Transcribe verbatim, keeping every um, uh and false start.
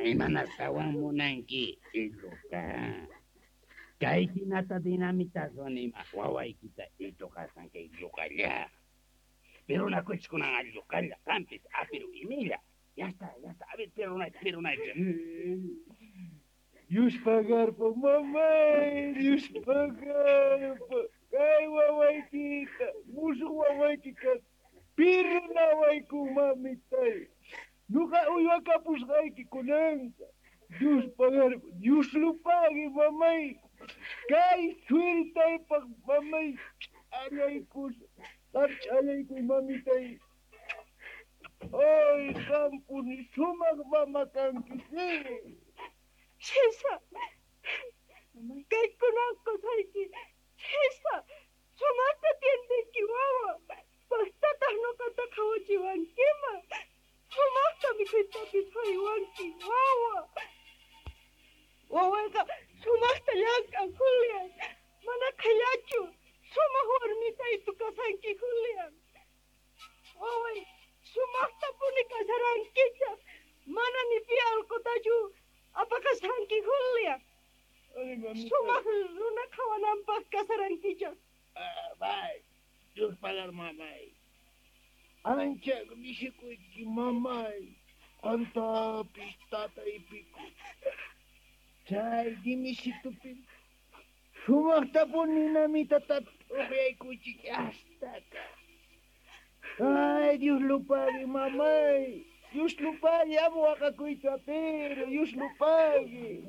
Imanastawan munanki, Iluka. Kay hinata dinamitaswan ima wawaykita ituqasan kay llukalla. Pero nakuchkunan allukalla, qampis apiru imilla. Ya está, ya está. A ver, perunayta, perunayta. Dios pagarpa, mamay, Dios pagarpa. Kay wawaykita, musuq wawaykita, pirunawayku mamitay. Nuqa uywakapusqayki kunanqa. Dios pagarpa, Dios lo pague, mamay. Kay suertaypaq, mamay, ch'allaykus, qam ch'allaykuy, mamitay. Ay, qampuni sumaq mama kanki, sí. Sisa, kaykunan qusayki. Sisa, sumaqta atiendenki wawa. Paqtataq nuqata qhawachiwankiman. Sumaqta mikhuytapis haywanki wawa. Wawayqa sumaqta llank'an, Julian. Mana qhillachu. Sumaq warmitaytu kasanki, Julian. Waway, sumaqtapuni kasarankichaq. Mana ni pi allqutachu apaqashanki, Julian. Ay, mamitay. Sumaq runa qhawananpaq kasarankichaq. Ah, bye. Dios pagar, mamay. Ancha mishikuyki, mamay. Qantapis tataypiku. Chay dimisitupi sumaqtapuni namitata t'uqyaykuchik hastaka. Ay, Dios lo pague, mamay. Dios lo pague, amo waqakuyta, pero Dios lo pague.